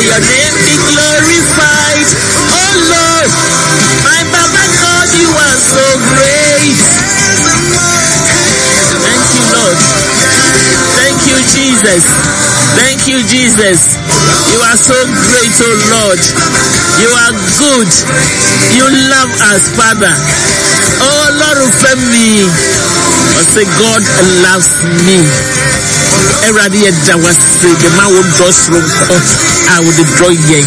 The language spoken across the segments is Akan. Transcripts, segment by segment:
your name be glorified. Oh Lord, my Baba God, you are so great. Thank you, Lord. Thank you, Jesus. Thank you, Jesus. You are so great, oh Lord. You are good. You love us, Father. Oh Lord, me. I say God loves me. Awurade yɛda wase de ma wo dɔ soronko a wode dɔ yɛn.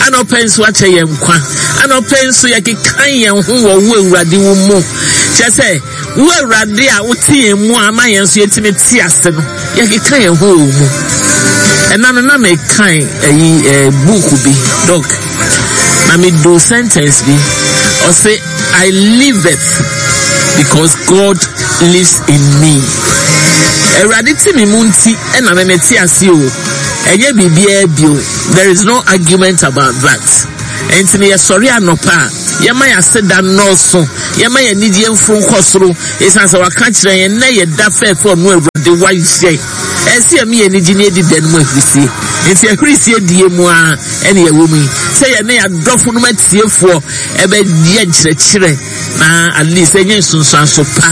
Anɔpɛ nso akyɛ yɛn nkwa. Anɔpɛ nso yɛkeka yɛn ho wɔ wo Awurade wo mu. Kyerɛ sɛ Wo Awurade a wote yɛn mu a ama yɛn nso yɛtumi te ase no, yɛkeka yɛn ho wɔ wo mu. Ɛna no na mekan ayi ɛɛ buuku bi, dɔk, na medu sentence bi, ɔse, I liveth because God lives in me. Awurade te me mu nti ɛna me mete ase o. Ɛnyɛ biribiara bio. There is no argument about that. Ɛnti no yɛsɔre anɔpa a, yɛma yɛn aseda nnɔɔso, yɛma yɛn anigyeɛ mforo nkɔ soro, ɛsiane sɛ waka kyerɛ yɛn nnɛ yɛ da fɛɛfɛ ɔno Awurade wayɛ. Ɛsɛ yɛma yɛn anigye ne yɛdi da no mu ahurisie. Nti ahurisie die mu ara ɛne yɛwɔ mu yi, sɛ yɛne yɛadɔfo nom atiefoɔ ɛbɛyɛ nkyerɛkyerɛ na at least ɛnyɛ nsunsuanso pa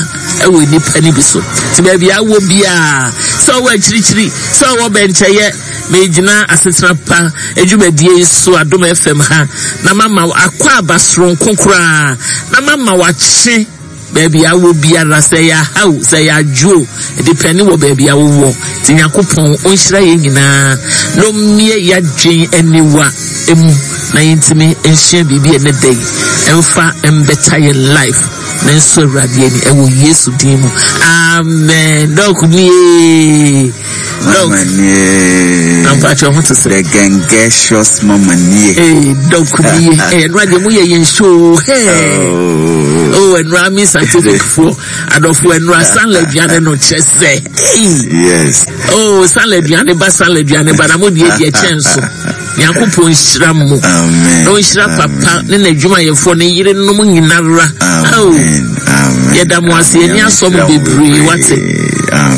ɛwɔ nnipa no bi so. Nti baabi a wɔ biara, sɛ ɔwɔ akyirikyiri, sɛ ɔwɔ bɛnkyɛyɛ, Megyina asetena pa dwumadie yi so Adom FM ha na mama wo akwaaba soronko koraa na mama wakye baabi a wɔ biara sɛ ɛyɛ aha o sɛ ɛyɛ adwo o ɛdepɛne wɔ baabi a wowɔ nti Nyankopɔn ɔnhyira yɛn nyinaa na ɔmmie yɛadwen aniwa mu na yɛntumi nsua biribi ɛnɛ da yi ɛmfa mbɛta yɛn life na nso Awurade ani ɛwɔ Yesu din mu amen dɔk nie. Mama nie. Ampakyɛ ho te sɛ. The gengesious mama nie. Ee dɔk nie. Ee ɛnura deɛ mo yɛ yɛn show. Hey. Oh ɛnura mi scientific foɔ adɔfo ɛnura sanla aduane no kyɛ sɛ. Yes. Oh sanla aduane ba sanla aduane ba na mo deɛ deɛ kyɛn so. Nyankopɔn nhyira mo. Amen. Na ɔnhyira papa ne n'adwumayɛfoɔ ne yerenom nyinara. Amen. Amen. Yɛda mo ase yɛni asɔ mo bebree wate.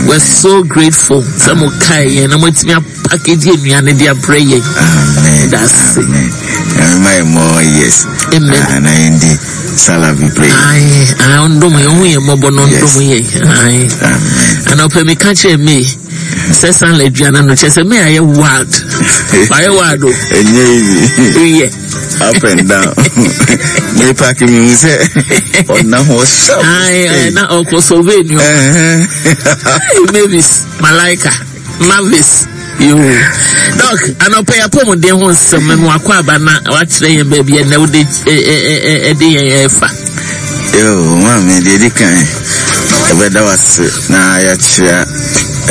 We're so grateful sɛ mo kae yɛn na moatumi apakagye nnuane de abrɛ yɛn. Amen. That's it. Amen. Nyame ma yɛ more years. Amen. Ah, na yɛn di sala bebree. Aye, aye, ɔndom yɛn, ɔhu yɛn mmɔbɔ na ɔndom yɛn. Aye. Amen. Anɔpɛ meka kyerɛ me. Sɛ sanla aduane no kyerɛ sɛ me ayɛ wild. Ayɛ wild o. Ɛnyɛ easy. Yɛ. Up and down. Me paaki mi hu sɛ ɔna hɔ sharp. Ayi na ɔkɔ survey ni o. Mavis Malaika Mavis yoo. Dɔk anɔpɛ yɛ apɔmuden ho nsɛm mu akɔ aba na wakyerɛ yɛn baabi ɛnɛ wode ɛde yɛn ɛfa. Yoo maame deɛ edi kan ɛbɛda wase na yɛakyerɛ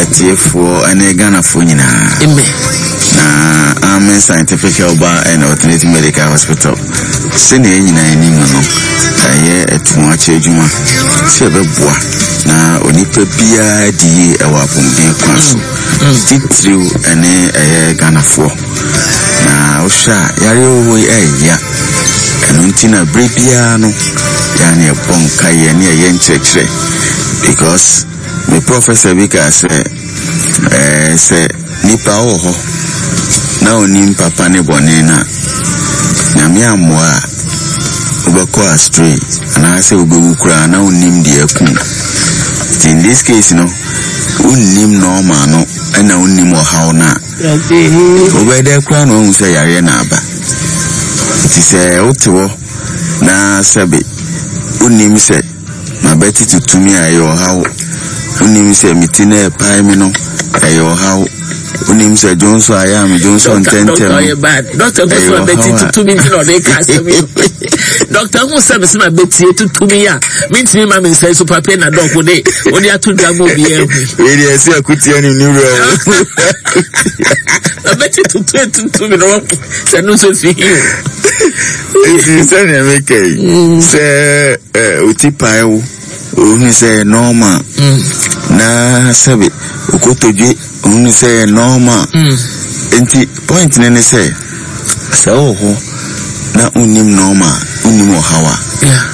atiefoɔ ne Ghanafoɔ nyinaa. Amen. Na Amen Scientific Herbal and Alternative Medical Hospital sɛnea yɛn nyinaa anim no ɛyɛ ɛtoakyɛ adwuma sɛ ɛbɛboa na onipa biara di yie ɛwɔ apɔmuden kwan so mm. titiriw ɛne ɛyɛ Ghanafoɔ. Na wohwɛ a, yareɛ wɔ hɔ yi ɛya. Ɛno nti na berɛ biara no, yɛa ne yɛbɔ nkaeɛ ne yɛyɛ nkyerɛkyerɛ. Because me professor bi kaa sɛ, ɛɛ sɛ nipa wɔ hɔ na onim papa ne bɔne no a, Nyame ammoa a, wobɛkɔ astray anaasɛ wobɛwu koraa na wonnim deɛ aku wo. Nti in this case no, wonnim normal no ɛna wonnim ɔhaw no a, Wobɛyɛ dɛ koraa na woahu sɛ yareɛ na aba. Nti sɛ wote hɔ na sɛbe wonnim sɛ m'abati tutu me a ɛyɛ ɔhaw, wonnim sɛ me ti no ɛrepae me no ɛyɛ ɔhaw, wonnim sɛ dwonsɔ a ɛyɛ a me dwonsɔ ntɛntɛm no ɛyɛ ɔhaw a. Dɔkta hu sɛ mese mabɛtie tutu me a mentumi ma me nsa so pape na dɔk wode wode ato dwa ma obiara hu. Wei deɛ ɛsɛ akutia ne ne wura o. Mabɛte tutu etutu me no sɛ no nso fi hi o. Eti sɛnea meka yi mm. sɛ oti pae wo ohunu sɛ ɛyɛ normal mm. na sɛbe okotodwe ohunu sɛ ɛyɛ normal mm. nti Point no ne sɛ, sɛ wowɔ hɔ na wonnim nɔɔma a, wonnim ɔhaw a,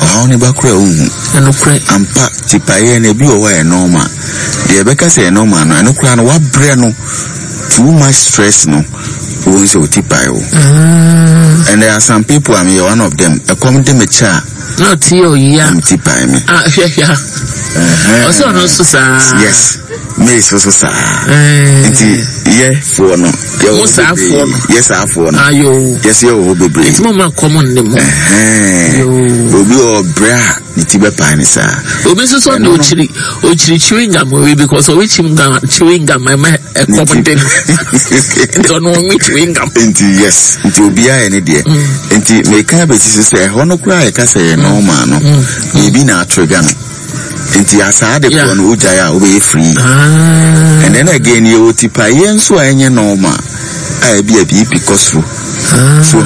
ɔhaw no ba koraa a wonhu. Ampa, tipaeɛ no, ebi wɔ hɔ a ɛyɛ nɔɔma. Deɛ yɛbɛka sɛ ɛyɛ nɔɔma no, ɛno koraa no, woabrɛ no, too much stress no, Wohu sɛ wo ti pae wo. And there are some people, I'm one of them. Ɛkɔm de me kyɛ a. Na ɔte yɛ ɔyia. Na me ti pae me. Ah, hwɛ hwɛ. Ɔsɛ ɔno nso saa. Yes, me nso so saa. Nti yɛ foɔ no. Yɛ mo saa foɔ no. Yɛ saa foɔ no. Ayo. Yɛ sɛ yɛ wɔ hɔ bebree. Nti mo ma kɔm nne mo. Obi wɔ brɛ a ne ti bɛpae ne saa. Obi nso sɔ de okyiri okyiri chewing gum wi because owi chewing gum chewing gum ɛmɛ ɛkɔm de no. Nti ɔno ɔnwi chewing gum. Nti yes, nti obiara yɛ ne deɛ. Nti meka abɛsi so sɛ ɛhɔ no koraa yɛka sɛ yɛ normal no, biribi na atrigger no. Nti asaa de korɔ no wogyae a wobɛyɛ free. And then again yɛwɔ tipaeɛ nso a ɛnyɛ normal a ebi a BP kɔ soro. So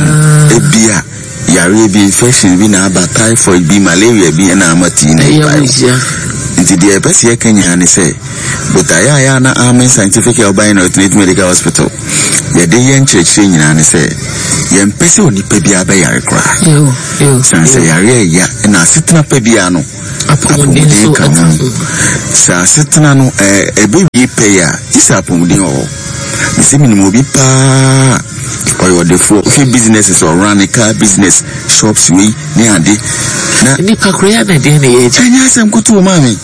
ebi a yareɛ bi infection bi na aba typhoid bi malaria bi na ama tii na ɛpae wo. Nti deɛ ɛpɛ sɛ yɛka nyinaa ne sɛ botaeɛ a yɛ a na Amen Scientific Herbal and Alternative Medical Hospital yɛde yɛ nkyerɛkyerɛ nyinaa ne sɛ yɛmpɛ sɛ onipa biara bɛyare koraa. Sane sɛ yareɛ ɛya na asetena pa biara no apɔmuden ka ho. Sɛ asetena no ɛbɛwie pɛyɛ a, gye sɛ apɔmuden wɔ hɔ. Mese menim obi paa ɔyɛ ɔdefoɔ. Wohwɛ businesses ɔrun ne car business, shops wei ne ade. Na nipa koro yɛ na deɛ na yɛ agya. Ɛnyɛ asɛm kutu maame.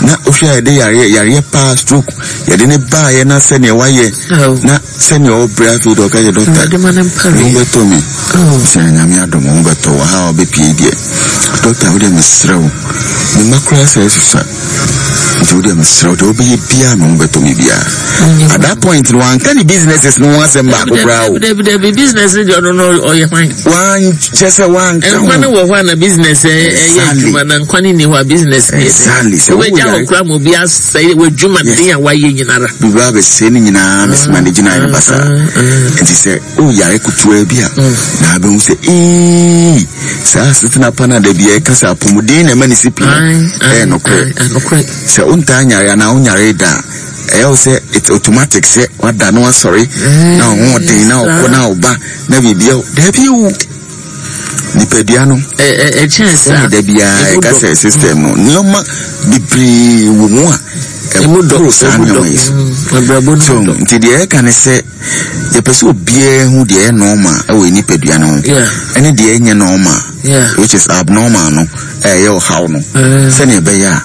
Na wohwɛ a yɛde yareɛ yareɛ paa stroke yɛde ne baayɛ na sɛdeɛ wayɛ na sɛdeɛ ɔbrɛ afei deɛ ɔka kyerɛ dɔkta ho bɛtɔ me sɛ Nyame adom ho bɛtɔ wɔ ha a ɔbɛpie deɛ dɔkta wodeɛ mesrɛ wo me mma koraa sɛ asusua nti wodeɛ mesrɛ wo deɛ wobɛyɛ biaa me ho bɛtɔ me biaa at that point no wanka ne businesses no ho asɛm baako koraa o dabi business no deɛ ɔno no ɔyɛ hwan wankyɛ sɛ wanka ho nkwa no wɔ hɔ a na business ɛyɛ adwuma na nkwa no nni hɔ a business no yɛ exactly sɛ wobɛgya hɔ koraa ma obi asɛe w'adwuma den a wayɛ nyinara biribi abɛsɛe no nyinaa mesoma ne gyinae no basaa nti sɛ woyare ketewa bi a na abɛhu sɛ ee saa asetena pa no a da bia ɛka sɛ apɔmuden na ɛma ne si pii no ɛyɛ nokorɛ sɛ wontaa nyare anaa wonyare da a ɛyɛ wo sɛ it's automatic sɛ wada na wasɔre na ɔhoɔden na ɔkɔ na ɔba na biribia daabi o nipadua no ɛkyɛn saa sɛne da biara ɛka sɛ system no nneɛma bebree wɔ mu a ɛboro saa nneɛma yi so nti deɛ ɛka ne sɛ yɛpɛ sɛ obiara hu deɛ ɛyɛ normal ɛwɔ nipadua no ho ɛne deɛ ɛnyɛ normal which is abnormal no ɛyɛ ɔhaw no sɛnea ɛbɛyɛ a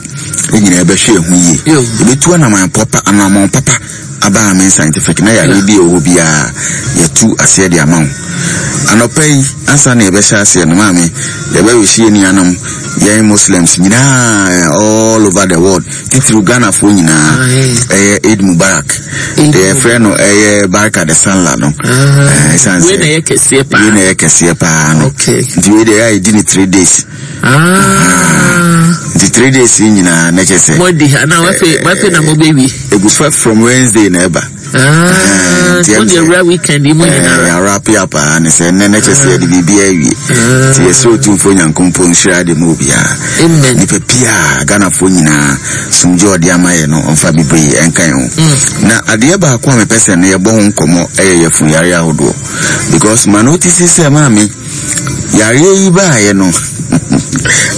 ɛnyina ɛbɛhwɛ ɛho yie yɛbɛtu anaman papa anammɔn papa aba Amen Scientific na yareɛ bi a ɛwɔ hɔ biara yɛtu aseɛ de ama wo. Anɔpa yi ansa na yɛbɛhyɛ aseɛ no maame yɛbɛwehye yɛn nuanom yɛn Muslims nyinaa all over the world titiriw Ghanafoɔ nyinaa ɛyɛ Eid Mubarak deɛ yɛfrɛ no ɛyɛ Barka de Sallah no ɛsan sɛ wei na ɛyɛ kɛseɛ paa wei na ɛyɛ kɛseɛ paa no nti wei deɛ ɛyɛ a yɛdi ne 3 days. Ah. Nti 3 days yi nyinaa na kyerɛ sɛ. Mo di ha na wafe wafe na mo bɛ wi. Egu fa from Wednesday na ɛba. Ah, nti mo de awura weekend yi mu nyinaa. Ɛɛ awura pia paa ne sɛ nnɛ na kyerɛ sɛ yɛde biribi awie. Nti yɛsɛ Otumfoɔ Nyankompɔn nhyira de mu obiara. Amen. Nipa pia Ghanafoɔ nyinaa sumgye ɔde ama yɛ no ɔmfa bebree ɛnka yɛn ho. Na adeɛ baako a mepɛ sɛ no yɛbɔ ho nkɔmmɔ ɛyɛ yɛfun yare ahodoɔ because ma notice sɛ maame. Yareɛ yi baeɛ no,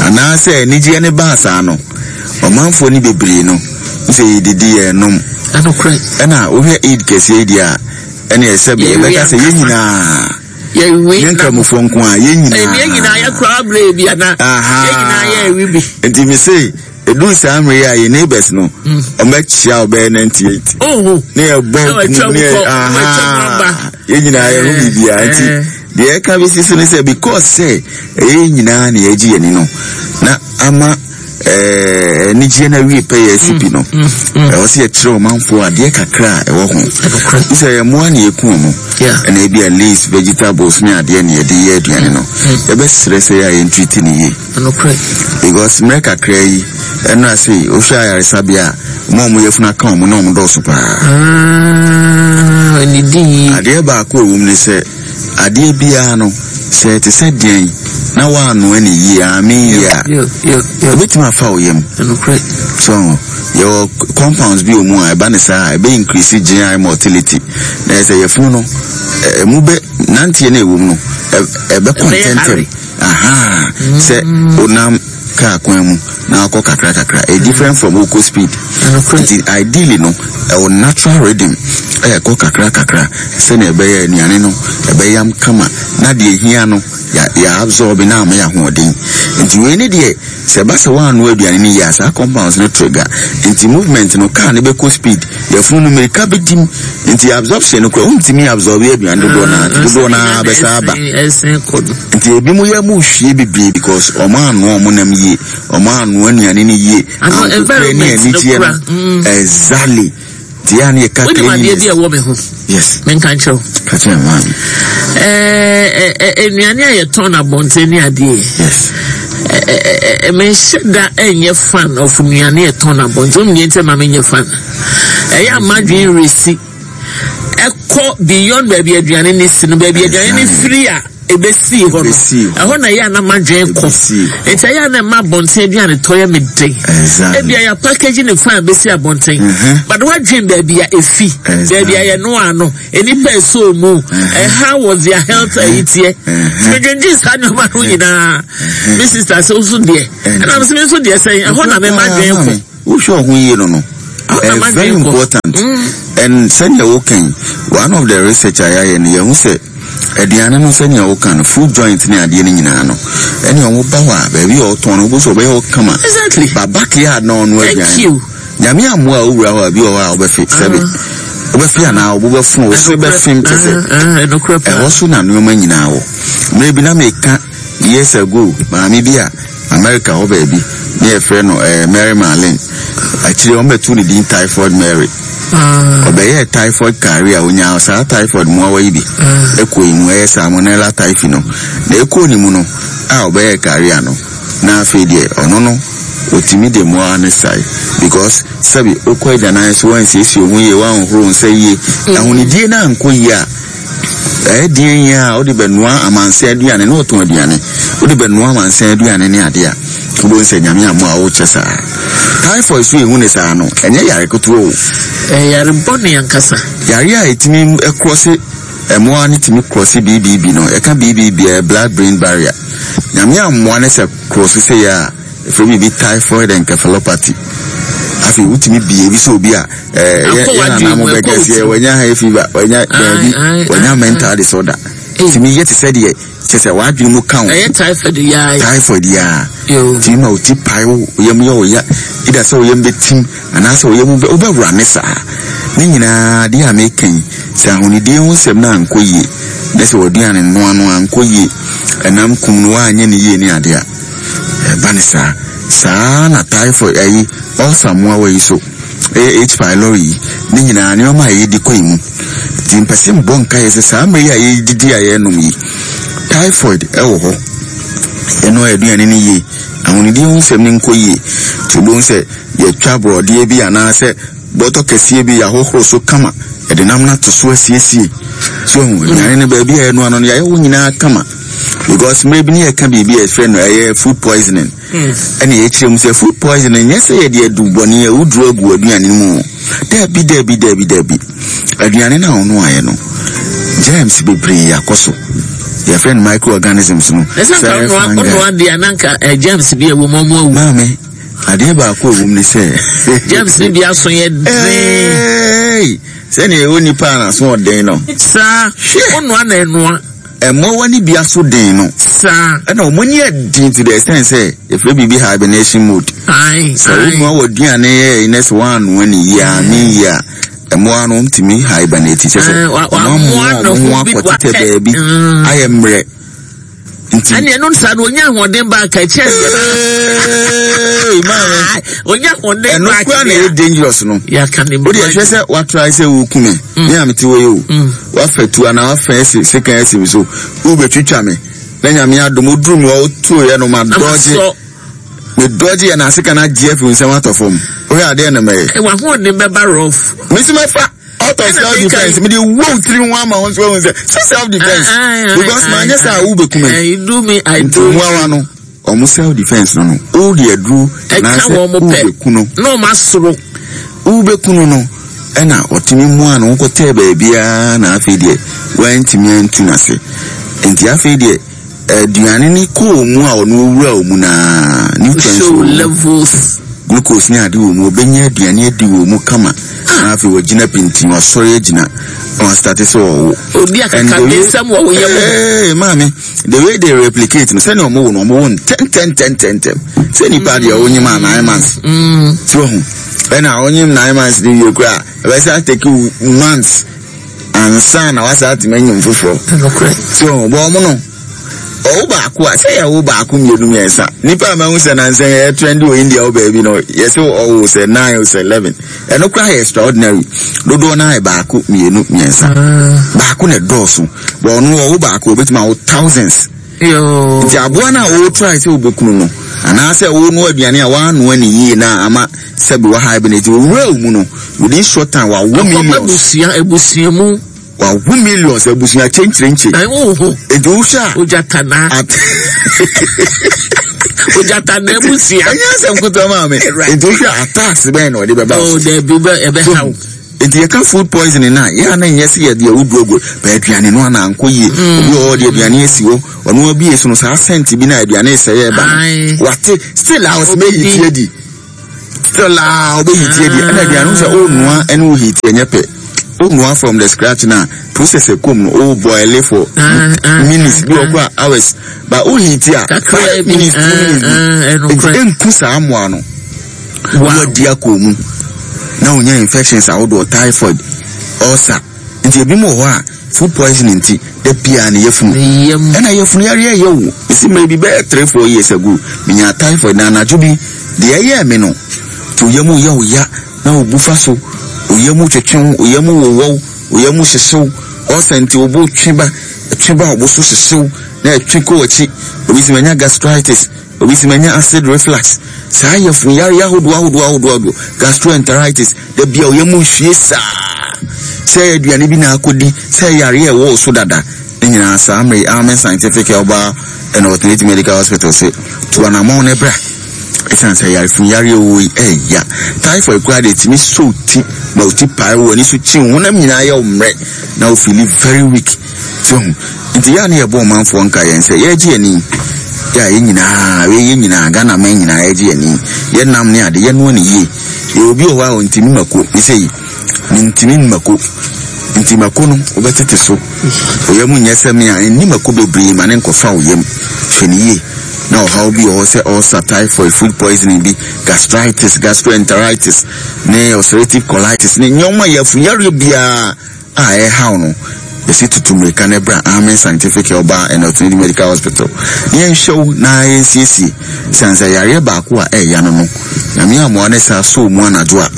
anaasɛ anigyeɛ no baa saa no, ɔmanfoɔ no bebree no, sɛ yɛdidi yɛnom. Ɛna wohwɛ Eid kɛseɛ yi deɛ a, ɛne ɛsɛ bi yɛbɛka sɛ yɛn nyinaa yɛn nkramofoɔ nko a yɛn nyinaa. Yɛn nyinaa yɛ koraa berɛ bi ana. Yɛn nyinaa yɛ ɛwi bi. Nti me se ɛduru saa mmerɛ yi a yɛn neighbors no ɔmɛkyia ɔbɛyɛ 98 ne yɛbɔ nkum ne yɛ aha yɛn nyinaa yɛn ho biribiara nti deɛ ɛka bɛsi so ne sɛ because sɛ ɛyɛ yɛn nyinaa na yɛagye yɛn ani no na ama anigyeɛ no awie pɛ yɛ asi pi no ɛwɔ sɛ yɛkyerɛ ɔmanfoɔ adeɛ kakra a ɛwɔ ho sɛ yɛ mmoa ne yɛku ɔmo ɛna ebi a leaves vegetables ne adeɛ ne yɛde yɛ aduane no yɛbɛsrɛ sɛ yɛ a yɛntriti ne yie because mmerɛ kakra yi ɛno ase wohwɛ ayaresabea a ɔmo a ɔmo yɛfunu aka ɔmo na ɔmo dɔɔso paa adeɛ baako a ɛwɔ mu ne sɛ adeɛ biara no sɛ ɛte sɛ deɛn na woanoa ne yie ame yie a ɛbɛtumi afa wo yam so yɛwɔ compounds bi wɔ mu a ɛba ne saa a ɛbɛ increase GI motility na ɛsɛ yɛfunu no ɛmu bɛ nanteɛ no ɛwɔ mu no ɛbɛkɔ ntɛntɛm aha sɛ onam kaa kwan mu na akɔ kakra kakra ɛ different from wokɔ speed nti ideally no ɛwɔ natural rhythm. Ɛrekɔ kakra kakra sɛnea ɛbɛyɛ a nnuane no ɛbɛyam kama na deɛ ɛhia no yɛ yɛ absorb na ama yɛ ahoɔden. Nti wei ne deɛ sɛ ɛba sɛ woannoa aduane no yie a saa compounds no trigger. Nti movement no car no bɛkɔ speed, yafunu no mmirika bɛdim. Nti absorption no koraa wontumi absorb aduane dodoɔ no ara nti dodoɔ no ara bɛsan aba. Nti ebinom yam hwie bebree because wɔn annoa wɔn nam yie, wɔn annoa nnuane no yie, ahokokorɛ ne anigyeɛ no. Exactly. Nti yɛ a ne yɛka Wonim adeɛ bi a ɛwɔ me ho? Yes. Menka nkyerɛ wo. Ka kyerɛ me maame. Ɛɛ nnuane a yɛtɔn no abɔnten ne adeɛ. Yes. Ɛɛ menhyɛ da ɛnyɛ fan of nnuane yɛtɔn no abɔnten. Wonim deɛ nti ma menyɛ fan? Ɛyɛ a m'adwene resi ɛkɔ beyond baabi aduane no si no, baabi aduane no firi a. Ebesii hɔ no, ɛhɔ na ɛyɛ a na m'adwene kɔ. Enti ɛyɛ a na ɛma abɔnten aduane tɔ yɛ me den. Ebia yɛ package ne fine besi abɔnten, but woadwene baabi a efi, baabi a yɛnoaa no, nnipa a ɛsɔɔ mu, how was their health ayi teɛ. Nti medwendwen saa nneɛma no nyinaa. Me sister sɛ wo nso deɛ, ɛna me nso deɛ sɛn, ɛhɔ na me m'adwene kɔ. Wohwɛ wo ho yie no no, ɛyɛ very important. And sɛnea woka yi, one of the research a yɛayɛ no, yɛahu sɛ Aduane no sɛnea woka no, food joint ne adeɛ no nyinaa no, ɛne ɔmo ba hɔ a, baabi a ɔtɔn no, wobɛhu sɛ ɔbɛyɛ hɔ kama. Exactly. Ba backyard na ɔnoa Thank aduane. you. Nyame ammoa a wowura hɔ a, bi wɔ hɔ a wobɛfe, sɛbe. Wobɛfe anaa wo bo bɛfono, wo se bɛfem kyɛ sɛ. Ɛnokorɛ paa. Ɛhɔ so na nneɛma nyinaa wɔ. Mmerɛ bi na meka years ago, maame bi a America hɔ baabi, ne yɛfrɛ no eh, Mary Marlene. Akyire wɔbɛtoo ne din Typhoid Mary. Ɔbɛyɛɛ typhoid carrier, ɔnyaa saa typhoid mmoawa yi bi ɛkɔɔ ne mu, ɛyɛ Salmonella typhi no. Na ɛkɔɔ ne mu no, a ɔbɛyɛɛ carrier no, na afei deɛ ɔno no, ɔtumi de mmoawa no sae. Because sɛbi wokɔ agyanan so woansiesie wo ho yie, woanhohoro wo nsa yie, ahonidie no ankɔ yie a, Ɛyɛ deɛn yi a wode bɛnoa amansan aduane na ɔtɔn aduane wode bɛnoa amansan aduane ne adeɛ a wobɛhu sɛ Nyame amoa a wokyɛ saa. Typhoid so yɛhu ne saa no ɛnyɛ yare ketewa o. Ɛyɛ yare bɔne ankasa. Yare a ɛtumi krɔse mmoa no tumi krɔse BBB no yɛka BBB a ɛyɛ blood brain barrier. Nyame ammoa ne sɛ krɔse sei a Yɛfrɛ biribi typhoid encephalopathy. Afei wotumi bie bi sɛ obi a ɛɛ yɛ yɛ nana mo bɛka sɛ wanya high fever, wanya daabi, wanya mental disorder. Tumi yɛ te sɛ deɛ kyɛ sɛ w'adwene mu ka wo. Ɛyɛ typhoid yaa. Typhoid yaa. Tumi ma oti pae wo yam yɛ wo ya. Ida sɛ wo yam bɛtim anaasɛ wo yam wobɛwura ne saa. Ne nyinaa adeɛ a meka yi sɛ ahonidie ho nsɛm no ankɔ yie na sɛ w'aduane noa no ankɔ yie ɛnam kum no woanyɛ no yie ne adeɛ a. Ɛba no saa. Saa ara na typhoid ayi, ulcer mmoawa yi so, ɛyɛ H. Pylori yi, ne nyinaa nneɛma a yɛdi kɔ yɛn mu. Nti mpɛ sɛ mbɔ nkaeɛ sɛ saa mmerɛ yi a yɛdidi a yɛrenom yi, typhoid ɛwɔ hɔ. Yɛnoa aduane no yie, ahonidie ho nsɛm no nkɔ yie. Nti wobɛhu sɛ yɛtwa borɔdeɛ bi anaasɛ bɔtɔ kɛseɛ bi yɛahohoro so kama, yɛde nam no ato so asiesie. So ahu, aduane no baabi a yɛnoa no no yɛayɛ hɔ nyinaa kama. Because mmerɛ bi ne yɛka biribi a yɛfrɛ no ɛyɛ food poisoning. Ɛna yɛkyerɛ mu sɛ food poisoning nyɛ sɛ yɛde adu bɔne a woduru agu aduane no mu o. Daabi, daabi, daabi, daabi. Aduane no a wonoaeɛ no, germs bebree akɔ so. Yɛfrɛ no microorganisms no. Ɛsɛ nka wonoa deɛ na nka eh, germs bi a ɛwɔ mu ɔmo awu. Maame, adeɛ baako a ɛwɔ mu ne sɛ. Germs no bi aso yɛ den. Sɛnea ɛwɔ nipa a n'aso ɔden no. Saa, wonoa na ɛnoa. Mmoawa no bi aso den no. Saa. Ɛna wɔn ani yɛ den to the extent sɛ yɛfrɛ biribi hibernation mode. Ae, Sɛ wonoa w'aduane yɛ na sɛ woannoa no yie a, ne yie a, mmoa no wɔtumi hibernate kyɛ sɛ wɔamoa wɔn ho akɔtetɛ baabi ayɛ mmerɛ. Nti. Ɛne ɛno saa no onya ahoɔden ba aka kyɛ. Ee, maame. Onya ahoɔden ba aka. Ɛno kura na ɛyɛ dangerous no. Yaka ne mu. O de ɛhwɛ sɛ watra sɛ woku me. Me a mete hɔ yi o. Wafa tu anaa wafa asi sekan asi me so. Wobɛtwitwa me. Na Nyame adom woduru me hɔ wotuoeɛ no madɔgye. Medɔgye yɛ na sekan no agye afi wo nsam atɔ fam. Wohwɛ adeɛ na mɛyɛ. W'ahoɔden bɛba rough. Mesi mɛfa out of self defence. Mede wo tiri ho ama wo nso ahu sɛ sɛ self defence. Because manyɛ sɛ a wobɛku me. Nti mmoawa no wɔn self defence no no wode aduru anaasɛ wobɛku no. Na wɔn asoro. Wobɛku no no. Ɛna ɔtumi moaa ne ho kɔtɛɛ baabiara na afei deɛ wantumi antu n'ase. Nti afei deɛ aduane no kɔɔ mu a ɔno ɔwura mu naa nutrients wɔ mu. Levels. Glucose ne ade wɔ mu, ɔbɛnya aduane adi wɔ mu kama. Na afei wagyina pintinn, wasɔre agyina, na wastate sɛ ɔwo. Odi akakabensɛm wɔ wo yam. Ee, maame, the way they replicate no, sɛnea ɔmo wo no, ɔmo wo ntɛntɛntɛntɛntɛm. Sɛ nipa deɛ ɔnyim a 9 months. Ti wɔ ho. Ɛna ɔnyim 9 months de wie koraa, ɛbɛsa take months ansa na wasa atumi anyim foforɔ. Ti wɔ ho, bɔ ɔmo no. Ɔwo baako a, sɛ yɛwo baako mmienu mmiɛnsa. Nipa a mahu sɛ nansa yi ɛyɛ trendy wɔ India hɔ baabi no, yɛsɛ ɔwo sɛ 9 o sɛ 11. Ɛno koraa yɛ extraordinary. Dodoɔ no ara yɛ baako, mmienu, mmiɛnsa. Baako na ɛdɔɔso. But ɔno ɔwo baako, obetumi awo thousands. Nti aboa no a wo try sɛ wobɛkunu no, anaasɛ wonoa aduane a woanoa ne yie na ama sɛbi wa hibernate, owura wo mu no, within short time wawo millions. Akɔba abusua, abusua mu. Wawo millions abusua kyenkyerenkye. Na wo ho. Nti wohwɛ a. Ogyatana. Ogyatana abusua. Ɛnyɛ asɛm ketewa maa me. Nti wohwɛ a attacks bɛn na ɔde bɛba. Oh, dabi bɛ ɛbɛ ha wo. Nti yɛka food poisoning na yɛ a na nyɛ sɛ yɛde awuduro agu bɛ aduane no ana ankɔ yie. Obi wɔ hɔ ɔde aduane asi hɔ ɔno abie so no saa scent bi na aduane sɛ yɛ ba no. Wate still a ɔsɛ bɛ hit adi. Still a ɔbɛ heat adi ɛna aduane no sɛ ɔnoa ɛne wo heat ɛnyɛ pɛ. Ɔnoa from the scratch na process ɛkɔm no o boil for minutes bi wɔ kɔ a hours but o heat a 5 minutes, 2 minutes bi nti ɛnku saa mmoa no. Wadi akɔ mu na wonya infections ahodoɔ, typhoid, ulcer. Nti ebi mu wɔ hɔ a food poisoning nti da biara ne yafunu ɛna yafunu yareɛ yɛ wo. Esi mmerɛ bi bɛyɛ 3, 4 years ago, menya typhoid na anadwo bi deɛ ɛyɛɛ me no nti oyam yɛ wo ya na wo bu fa so, oyam twetwe wo, oyam wowɔw, oyam hyehyew, ulcer nti wo bo twe ba, twe ba wo bo so hyehyew na ɛtwe kɔ w'akyi. Obi si manya gastritis, obi si manya acid reflux, saa yafunu yareɛ ahodoɔ ahodoɔ ahodoɔ ahodoɔ, gastroenteritis, da bia oyam hwie saa sɛ aduane bi na akɔdi, sɛ yareɛ ɛwɔ wo so dada ne nyinaa. Saa mmere Amen Scientific Herbal and Alternative Medical Hospital sɛ tu anammɔn ne bra, ɛsiane sɛ yarefunu yareɛ wɔ yi ɛya. Typhoid koraa deɛ ɛtumi so ti ma wo ti pae, wɔ ani so kyi, wo honam nyinaa yɛ wo mmerɛ na wo feel very weak. So nti yɛ a ne yɛbɔ ɔmanfoɔ nka yɛn sɛ yɛregye ani yɛ a yɛn nyinaa, yɛn nyinaa, Ghana man nyinaa yɛregye ani, yɛnam ne ade yɛnoa ne yie. Yɛ obi wɔ hɔ a ɔntumi mako ne sɛ yi mentumi mako nti mako no wobɛtete so oyam nyɛ sɛ me a nni mako bebree ma ne nkɔfa wo yam. Hwɛ ne yie na ɔhaw bi wɔ hɔ sɛ ulcer, typhoid, food poisoning bi, gastritis, gastroenteritis ne ulcerative colitis ne nneɛma yɛafu yareɛ biara a ɛhaw no, yɛsi tutu mmirika ne bra Amen Scientific Herbal and Alternative Medical Hospital na yɛnhwɛ wo na yɛnsiesie. Siane sɛ yareɛ baako a ɛɛya no no Nyame amoa ne saa so mu anadwo a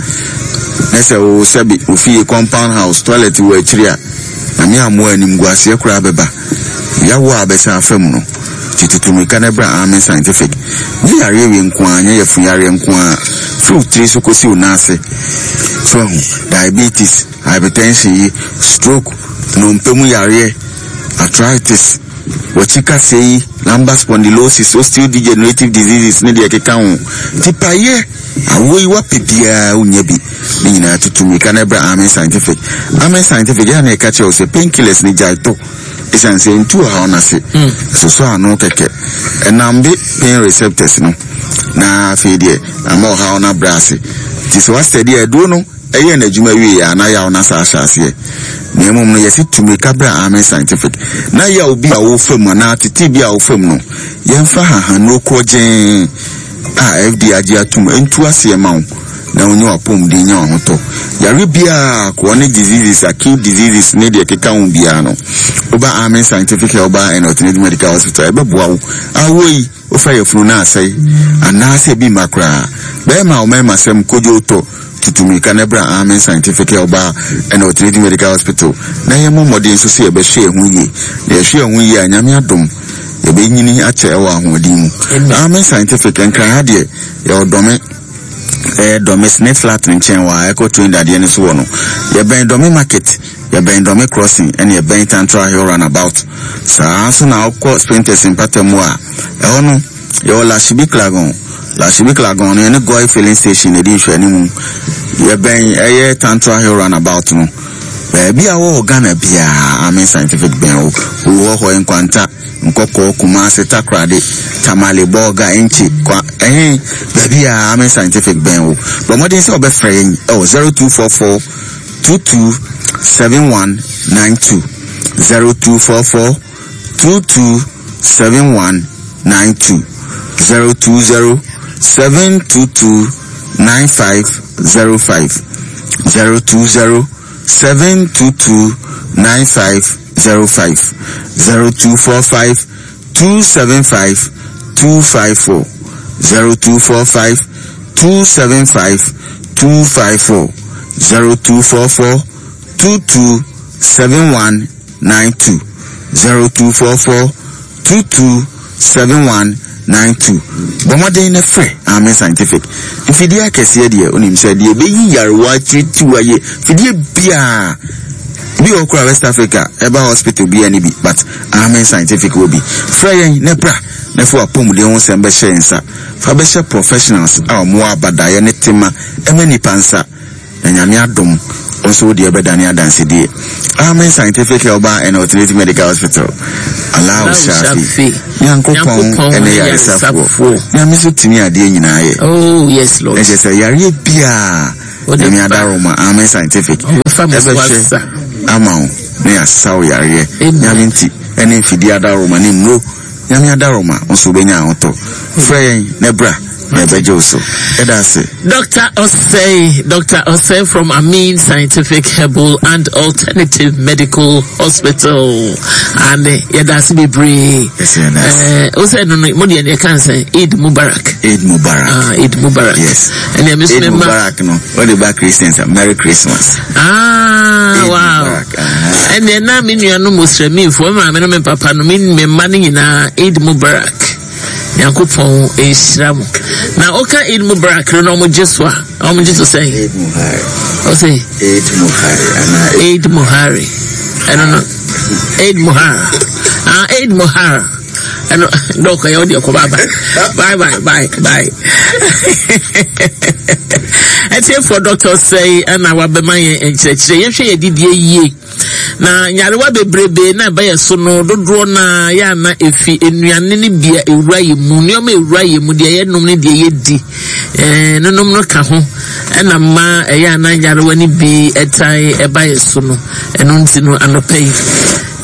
ne sɛ wo sɛbi ofie compound house toilet wɔ akyiri a, Nyame amoa animguaseɛ koraa bɛba yawo a bɛsa afa mu no. Nti tutu mmirika ne bra Amen Scientific. Nyɛ yareɛ wei nko ara, nyɛ yafunu yareɛ nko ara, firi wo tiri so kɔsi wo nan ase so ahu diabetes, hypertension yi, stroke, nnompe mu yareɛ, arthritis, wɔkyi kaseɛ yi, lumbar spondylosis, osteodegenerative diseases ne deɛ ɛkeka ho. Nti payɛ awoɔ yi wapɛ biara wonya bi ne nyinaa, tutu mmirika no ɛbrɛ Amen Scientific. Amen Scientific yɛ a na ɛka kyerɛ wo sɛ painkillers ne gyae tɔ, ɛsiane sɛ ntu ɔhaw no ase, ɛsosɔ ano kɛkɛ, ɛnam de pain receptors no na afei deɛ ama ɔhaw no abrɛ ase. Nti sɛ wasɛdeɛ aduro no ɛyɛ n'adwuma wie a na yaw no asa ahyɛ aseɛ. Na mmom no yɛsi tu mmirika brɛ Amen Scientific na yaw bi a wofa mu anaa tete bi a wofa mu no, yɛmfa hahanuro korɔgyee a FDA agye atum ntu aseɛ ma wo na wonye w'apɔmuden nya w'ahotɔ. Yare biara, chronic diseases, acute diseases ne deɛ ɛkeka ho biara no, woba Amen Scientific Herbal and Alternative Medical Hospital, ɛbɛboa wo. Awoɔ yi wofa yafunu no asɛe anaasɛ ebi mma koraa, bɛrima a ɔmɛrima sɛm kodwo tɔ, tutu mmirika na bra Amen Scientific Herbal and Alternative Medical Hospital na yɛmmɔ mmɔden nso sɛ yɛbɛhwɛ yɛn ho yie. Na yɛhwɛ yɛn ho yie a, Nyame adom, yɛbɛnyini akyɛ ɛwɔ ahoɔden mu. Amen Scientific, Nkran ha deɛ yɛwɔ Dɔme, ɛyɛ Dɔme Snake Flat nkyɛn wɔ a ɛkɔ train dadeɛ no so wɔ no. Yɛbɛn Dɔme Market, yɛbɛn Dɔme Crossing, ɛne yɛbɛn Tantra Hill roundabout. Saa nso na wokɔ Spintex mpata mu a, ɛhɔ no yɛwɔ Lashibi Klagon. Lashibi Klagon no yɛne Goil Filling Station na ɛdi nhwɛanimu. Yɛbɛn ɛyɛ Tantra Hill roundabout no. Baabi a wɔwɔ Ghana biara, Amen Scientific bɛn wo. Wɔ hɔ Nkwanta. Nkɔkɔɔ, Kumasi, Takoradi, Tamale, Bolga, Enchi, Kwa, ɛhe, baabi a Amen Scientific bɛn wo. Bɔ mmɔden sɛ wobɛfrɛ yɛn ɛwɔ 0244 22 7192, 0244 22 7192, 020 722 9505, 020 722 9505, 0245 275 254, 0245 275 254, 0244 22 7192, 0244 22 7192. Bɔ mmɔden na frɛ Amen Scientific. Mfidie akɛseɛ deɛ, wonim sɛ deɛ ɛbɛyi yarewa akyirikyiri ayɛ fidie biara bi wɔ koraa West Africa ɛba hospital biara ne bi, but Amen Scientific wɔ bi. Frɛ yɛn na bra na fa w'apɔmuden ho nsɛm bɛhyɛ yɛn nsa. Fa bɛhyɛ professionals a wɔwɔ abadaeɛ ne tema ɛma nnipa nsa. Na Nyame adom, wo nso wo deɛ bɛdane adansedie. Amen Scientific Herbal and Alternative Medical Hospital. Allahu Shafi. Nyankopɔn ɛne yaresafoɔ. Nyame nso tumi adeɛ nyinaa yɛ. Oh, yes, Lord. Ɛkyɛ sɛ yareɛ biara, Nyame adaroma, Amen Scientific. Ɛbɛhwɛ ama wo na yɛasa wo yareɛ. Nyame nti, ɛne mfidie adaroma ne nnuro. Nyame adaroma, wo nso wobɛnya ahotɔ. Frɛ yɛn na bra na yɛbɛgye wo so. Yɛda ase. Dr. Osei, Dr. Osei from Amin Scientific Herbal and Alternative Medical Hospital. And yɛda ase bebree. Yes, yɛda ase. Eh, wo sɛ no no, mo deɛ deɛ kan sɛ Eid Mubarak. Eid Mubarak. Ah, Eid Mubarak. Yes. Ɛnna ɛmi nso Eid mi ma. Mubarak no, wɔde ba Christians a, Merry Christmas. Ah, Eid wow. Mubarak. Aha. Ɛnna na me nuanom Muslimfoɔ, me maame no me papa no, me me mma no nyinaa Eid Mubarak. Nyankopɔn nhyira mo. Na woka Eid Mubarak no na wɔn gye so a, wɔn gye so sɛn? Eid Muhari. Ɔsɛ? Eid Muhari. Anaa Eid Muhari. Ɛno no, Eid Muhar. Ah, Eid Muhar. Ɛno, dɔkɔ yɛ ɔde ɛkɔ bye bye. Bye bye bye bye. Ɛtiɛfoɔ dɔkta sɛe ɛna wabɛma yɛn nkyerɛkyerɛ. Yɛhwɛ yɛ didie yie. Na nyarewa bebrebe na ɛba yɛ so no dodoɔ no ara yɛ ana efi nnuane no bi a ewura yɛ mu, nneɛma ewura yɛ mu, deɛ yɛnom ne deɛ yɛdi, ɛɛ nonom no ka ho ɛna mma ɛyɛ ana nyarewa no bi ɛtan ɛba yɛ so no. Ɛno nti no anɔpa yi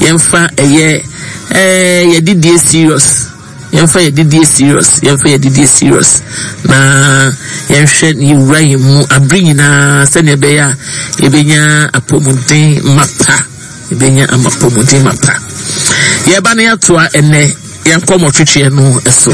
yɛmfa ɛyɛ ɛɛ yɛdidie serious. Yɛmfa yɛn didie serious, yɛmfa yɛn didie serious na yɛnhwɛ na yɛwura yɛn mu abere nyinaa sɛnea ɛbɛyɛ a yɛbɛnya apɔmuden mapa, yɛbɛnya apɔmuden mapa. Yɛba no yɛatoa ɛnɛ yɛn nkɔmmɔ twetweɛ no so.